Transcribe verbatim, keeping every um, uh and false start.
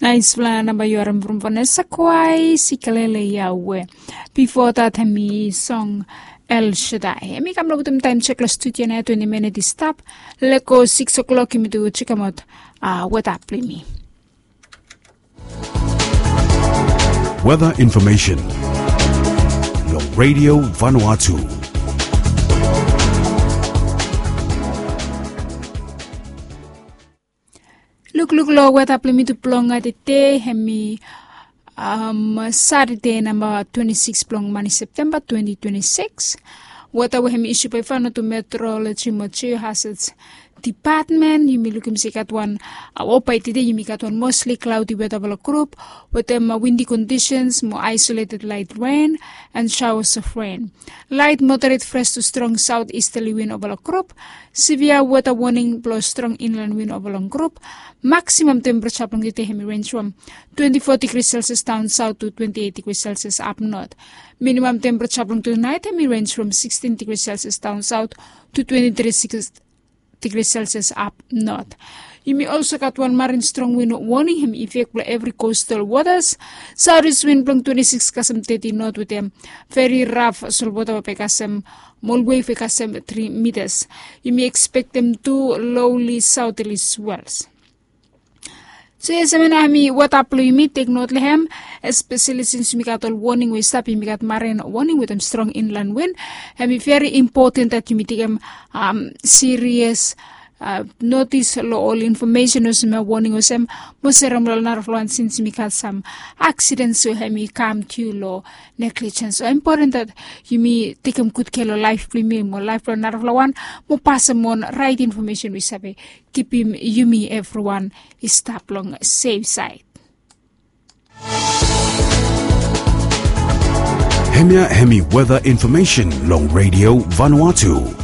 Naisfala namba yu harim from Vanessa Kwai, Sikalele Yahweh. Bifo dat hemi song El Shaddai. Hemi kam long wetem taim sek long studio nao, twenti minit i stap. Lego sikis o'klok yumi tu sekemaot weta blong yumi. Weather information long Radio Vanuatu. Lukluk long weta blong yumi tu blong tede, hemi Satade namba twenti sikis blong mani Septemba twenti twenti sikis. Weta we hemi isyu bae i faonaot tu Meteoroloji mo Geohazards Department, yumi lukim se i gat wan, o bae tede yumi gat wan mostli klaodi weta blong grup wetem windi kondisens mo aisoleted lait ren and shaoas of ren. Lait moderet fres tu strong saot istali win ova long grup. Sevia weta woning blong strong inlan win ova long grup. Maksimam tempereja blong tede hemi renj from twenti fo digri selsias daon saot tu twenti eit digri selsias ap not. Minimam tempereja blong tunaet hemi renj from sikstin digri selsias daon saot tu twenti tri digri selsias ap not. Yumi olso gat wan marin strong win woning hemi ifek blong evri kostal wotas. Saotis win blong twenti sikis kasem teti not wetem veri raf solwota we bae kasem molwei we kasem tri mitas. Yumi ekspektem tu loli saotili swels. So yes, hemia nao hemi weta blong yumi, tek not long hem. Espeseli sins yumi gat ol woning we i stap, yumi gat marin woning wetem strong inlan win. Hemi veri impoten dat yumi tekem sirias notis long ol infomesen olsem ya, woning olsem, mo serem long narafala wan sins yumi gat sam aksidens we hemi kam tu long neglijens. So impoten dat yumi tekem gud kea long laef blong yumi mo laef blong narafala wan, mo pasem on raet infomesen we i save kipim yumi evriwan i stap long sef saed. Hemia hemi weta infomesen long Radio Vanuatu.